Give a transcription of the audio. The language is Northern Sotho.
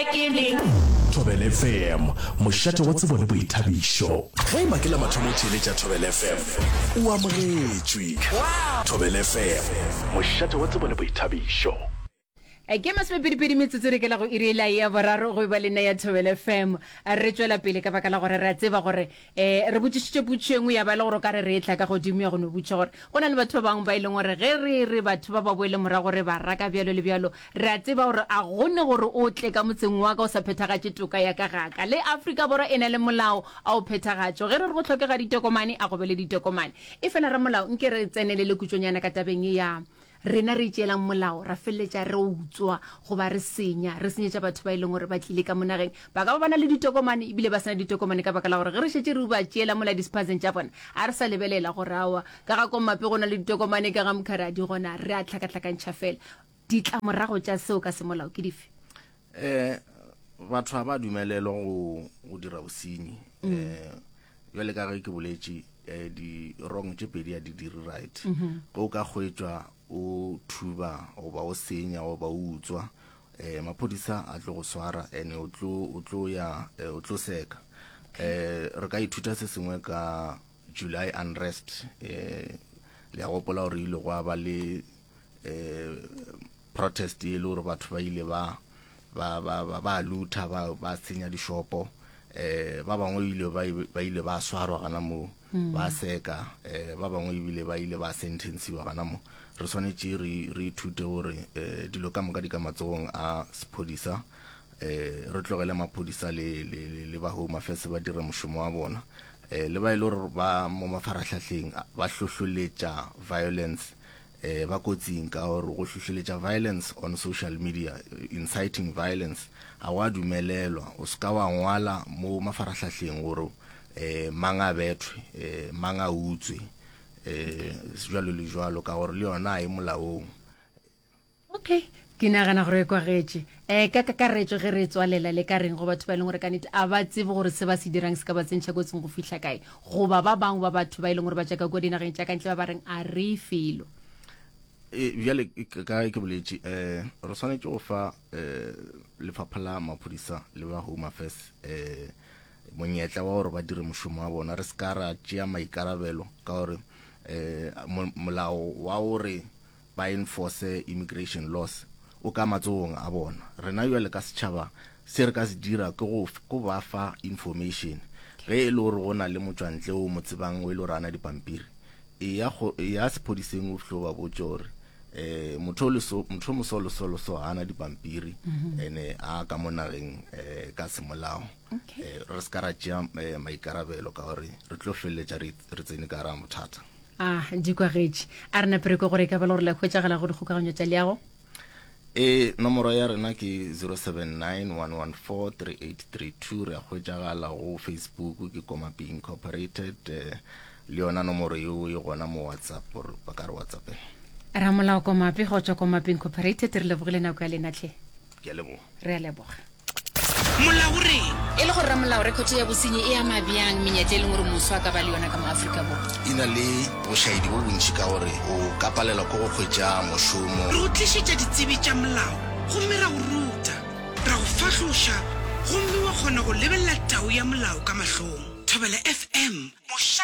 Thobela FM, mošate wa tsebo le boithabišo. Ge e ba ke la mathomo o theeletša Thobela FM, o amogetšwe. Thobela FM, mošate wa tsebo le boithabišo. Ke masomepedipedi metsotso re kela go iri ela ya boraro go eba le nna ya Thobela FM. Re tšwela pele ka baka la gore re a tseba gore um re botšišitše potšišo e nngwe ya ba e le gore o ka re re e tla ka godimo ya go no botšiša gore go na le batho ba bangwe ba e leng gore ge re re batho ba ba boele morago re ba raka bjalo le bjalo re a tseba gore a gone gore o tle ka motseng wa ka o sa phethagatše toka ya ka gaka le Afrika Borwa e na le molao a o phethagatšo ge re re go hlokega ditokomane a go be le ditokomane e fela ramolao nke re tsenelele kutšonyana ka tabeng ye ya Rena re itšeelang molao, ra feleletša re utswa goba re senya, re senyetša batho ba e leng gore ba tlile ka mo nageng. Ba ka ba ba na le ditokomane ebile ba se na ditokomane ka baka la gore ge re šetše re ba tšeela mola dispatseng tša bona, a re sa lebelela gore aowa, ka ga Kommape go na le ditokomane, ka ga Mkhari a di gona, re a hlakahlakantšha fela. Ditlamorago tša seo ka semolao ke dife? Eh, batho ga ba dumelelwa go, go dira bosenyi. Mm. Eh, bjale ka ge ke boletše eh, di-wrong tše pedi a di dire right. Mm -hmm. Ge o ka hwetšwa o thuba goba o senya goba o utswa eh, maphodisa a tlo go swara ene o tlo o tlo ya eh, o tlo seka. Eh, re ka ithuta se sengwe ka July unrest eh, le a gopola gore ile gwa ba le eh, protest e le gore batho ba ile ba ba ba ba ba lutha ba ba senya dishopo eh ba bangwe ile ba ba ile ba swarwa gana mo mm. ba seka eh ba bangwe ebile ba ile ba sentensiwa gana mo re swanetše re re ithute gore eh dilo ka moka di ka matsogong a sephodisa eh re tlogele maphodisa le le le ba home affairs ba dire mošomo wa bona eh le ba ile e gore ba mo mafarahlahleng ba hlohloletša violence eh, ba kotsing ka gore go hlohleletša violence on social media, inciting violence, ga wa dumelelwa. O se ka wa ngwala mo mafarahlahleng gore eh, mang a bethwe, eh, mang a utswe, eh, jwalo le jwalo, ka gore le yona a e molaong. Okay, ke nagana gore e kwagetše. Um ka kakaretšo ge re tswalela le ka reng go batho ba e leng gore ka nnete a ba tsebe gore se ba se dirang se ka ba tsentšha kotsing go fihla kae, goba ba bangwe ba batho ba e leng gore ba tšwa ka kua dinageng tša ka ntle ba ba reng a re felo. E, bjale ka ke boletše um re swanetše go fa um lefapha la maphodisa le ba home affairs um monyetla wa gore ba dire mošomo wa bona re se ka ra tšea maikarabelo ka gore um molao wa gore ba enforce immigration laws o ka matsogong a bona. Rena bjale ka setšhaba se re ka se dira ke go go ba fa information. Ge e le gore go na le motšwantle o mo tsebang o e le gore ana dipampiri, eya go eya sephodiseng o fihlo ba botše gore eh motho le so motho mo so le so le so ana dipampiri mhm. ene a ka mo nageng eh ka semolao. Eh re se ka ra tšea eh, maikarabelo ka gore re tlo feleletša re tsene ka ra mothata. A di kwagetše. A re nape re kwe gore e ka ba le gore le hwetšagala go dikgokaganyo tša leago. E, nomoro ya rena ke 0791143832. Re a hwetšagala go Facebook ke Komapi Incorporated. Eh, le yona nomoro yeo e gona mo WhatsApp gore ba ka re WhatsAppela. Ramolao Komapi go tšwa Komapi Incorporated, re lebogile nako ya lena hle. Ke a leboga. Re a leboga. Molao o reng? E le gore ramolao, rekhoto ya bosenyi e ama bjang menyetla e leng gore moswa a ka ba le yona ka mo Afrika Borwa? E na le bošaedi bo bontši ka gore o ka palelwa ke go hwetša mošomo. Re go tlišetša ditsebi tša molao gomme ra go ruta, ra go fahloša gomme wa kgona go lebelela tau ya molao ka mahlong. Thobela FM, mošate.